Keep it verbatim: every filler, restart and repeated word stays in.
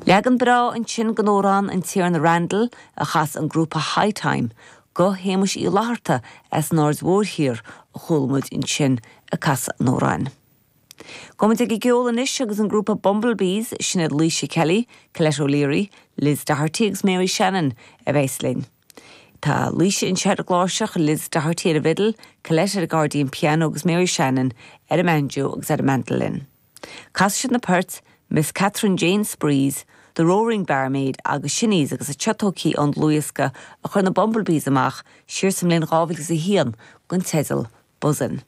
Leagan breá ansin den amhrán An Tiarna Randall a chas an grúpa High Time, guth Shéamuis Uí Fhlatharta as an Aird Mhóir Thiar a chuala muid ansin ag casadh an amhráin. Gabhfaidh muid ag an gceol anois agus an grúpa Bumblebees sin iad Laoise Kelly, Colette O'Leary, Liz Doherty agus Mary Shannon a bheas linn. Tá Laoise anseo ar an gcláirseach Liz Doherty ar an bhfidil, Colette ar an gaccordion piano agus Mary Shannon ar an mbanjo agus ar an mandolin. Casfaidh siad na poirt Miss Catherine Jane Sprees, The Roaring Barmaid agus Shinnies agus a tiotócí an luasca a chur na Bumblebees amach siar sa mbliain dhá mhíle a haon den teideal Buzzin.